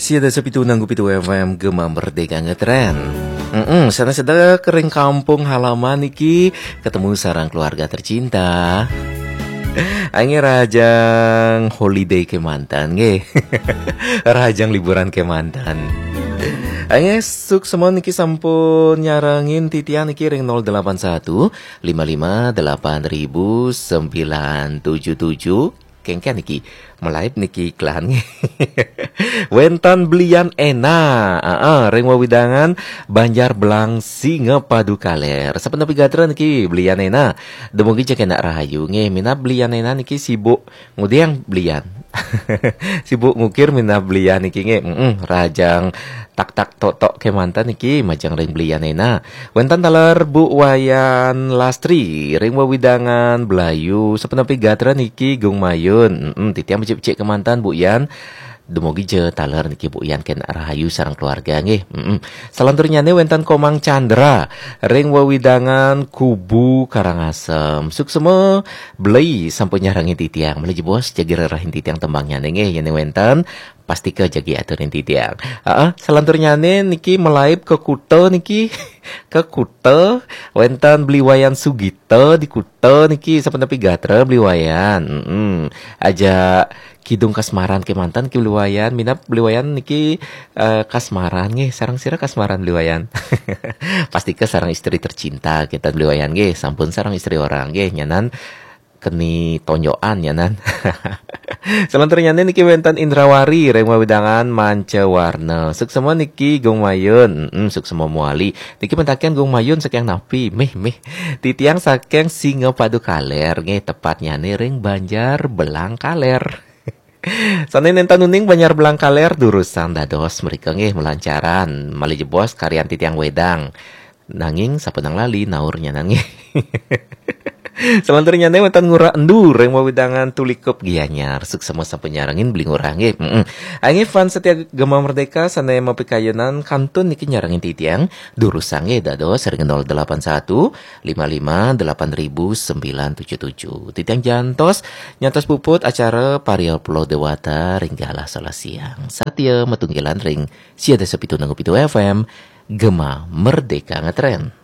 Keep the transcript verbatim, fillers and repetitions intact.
Sia dasa pitu nanggu pitu F M Gema Merdeka Ngetren. Mm-mm, sana sedek ring kampung halaman niki ketemu sareng keluarga tercinta. Ange rahajeng holiday kemanten nggih. Rahajeng liburan kemanten. Ange suksma niki sampun nyarengin titiang niki ring nol delapan satu lima lima delapan ribu sembilan tujuh tujuh. Kengken niki, malaib niki kelahan nggih. Wenten Bli Yan Ena, aa, ring wewidangan Banjar Belang Singapadu Kaler. Sapunapi gatra niki Bli Yan Ena? Dumugi ja kenak rahayu nggih. Minab Bli Yan Ena niki sibuk ngudeng Bli Yan. Sibuk ngukir minab Bli Yan niki nggih. Mm-mm, rahajeng tak-tak tok-tok kemanten niki majeng ring Bli Yan Ena. Wenten taler Bu Wayan Lastri ring wewidangan Blayu, sapunapi gatra niki Gung Mayun. Mm-mm, titiang becik-becik kemanten Bu Yan. Dumugi ja taler niki Bu Yan kenak rahayu sareng keluarga nggih. Mm-mm. Salanturnyane wenten Komang Chandra ring wewidangan Kubu Karangasem. Suksma Bli sampun nyarengin titiang. Malih jebos jagi rerahin titiang tembangnyane nggih. Yen wenten pastika jagi aturin titiang. Heeh, salanturnyane niki malaib ke Kuta niki. Ke Kuta, wenten Bli Wayan Sugita di Kuta niki, sapunapi gatra Bli Wayan. Mm-mm. Aja kidung kasmaran kemanten niki Bli Wayan, minab Bli Wayan niki, eh, kasmaran nggih, sareng sira kasmaran Bli Wayan? Pastika sareng istri tercinta kita Bli Wayan nggih, sampun sareng istri orang nggih, nyanan keni tonjokan nyanan. Salanturnyane niki wenten Indrawari ring wewidangan Manca Warna. Suksma niki Gung Mayun. Mm, suksma mawali. Niki mentaken Gung Mayun saking napi? Mih, mih. Titiang saking Singapadu Kaler nggih, tepatnyane ring Banjar Belang Kaler. Sane nenten uning Banjar Belang Kaler, durusang dados mrika nggih malancaran. Malih jebos karyan titiang wedang. Nanging sapunapi lali naur nyanan nggih. Salanturnyane wenten Ngurah Endu ring wewidangan Tulikup Gianyar. Suksma sampun nyarengin Bli Ngurah nggih. Mm-mm. Anggih fans setia Gema Merdeka sane mapikayunan kantun niki nyarengin titiang. Durusang nggih dados ring nol delapan satu lima lima delapan ribu sembilan tujuh tujuh. Titiang jantos nyantos puput acara Paria Pulo Dewata ring galah solas siang. Satia matunggilan ring sia dasa pitu nanggu pitu F M Gema Merdeka Ngetren.